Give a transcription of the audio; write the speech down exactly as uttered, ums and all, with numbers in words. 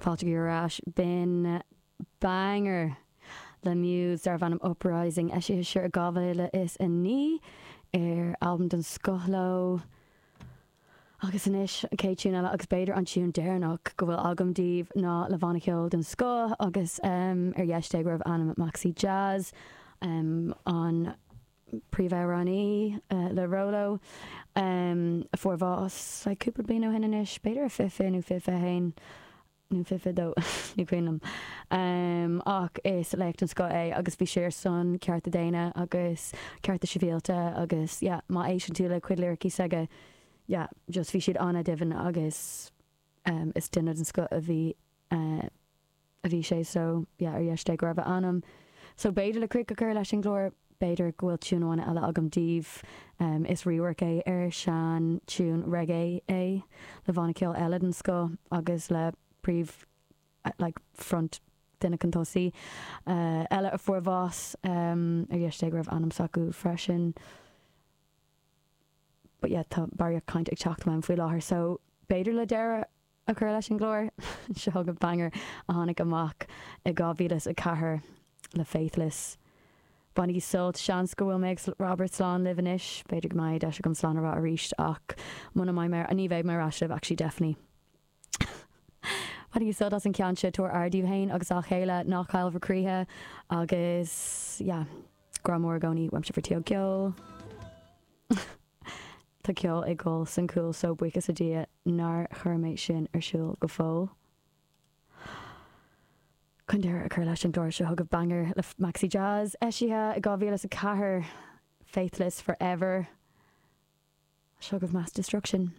Fáilte ar ais b'in banger le Muse darbh ainm Uprising eisithe siar i dhá mhíle is a naoi ar albam den scoth leo. Agus anois an chéad tune eile agus b'fhéidir an tune deireanach go bhfuil agam daoibh ná le banna ceoil den scoth agus um, ar dheis Dé go raibh anam Maxi Jazz um, an príomhamhránaí uh, le Rolo um, a fuair bás like, cúpla bliain ó shin anois, b'fhéidir a fiche nó fiche haon nó fiche dó ní cuimhin liom. Um, ach is laoch den scoth é agus bhí sé ar son cearta daonna agus cearta sibhialta agus yeah, má éisteann tú le cuid liricí s'aige yeah, just bhí siad an-doimhin agus um, is duine den scoth a bhí uh, a bhí sé so yeah, ar dheis Dé go raibh a anam. So b'fhéidir le críoch a chur leis an gclár b'fhéidir go bhfuil tune amháin eile agam daoibh um, is rework é ar sean tune reggae é le banna ceoil eile den scoth agus le príomh like front duine chun tosaigh uh, eile a fuair bás um, ar dheis Dé go raibh anam s'acu freisin. But yeah, tá barraíocht caint ag teacht uaim faoi láthair so b'fhéidir le deireadh a chur leis an gclár seo go banger a tháinig amach i dhá mhíle a ceathair le Faithless. Bainigí sult seans go bhfuil mé Robert slán libh anois, b'fhéidir go mbeidh deis agam slán a rá arís ach muna mbeidh mé ní bheidh mé ar ais libh actually definitely. Bainigí sult as an ceann seo tabhair aire daoibh féin agus dá chéile ná caill bhur gcroíthe agus yeah, grá mór i gcónaí uaimse bhur ceol. Tá ceol ag gol san cúl so buíochas le Dia nár chuir mé sin ar siúl go fóill. Chun deireadh a chur leis an gclár seo chugaibh banger le Maxi Jazz eisithe i dhá mhíle a ceathair Faithless Forever. Seo chugaibh Mass Destruction.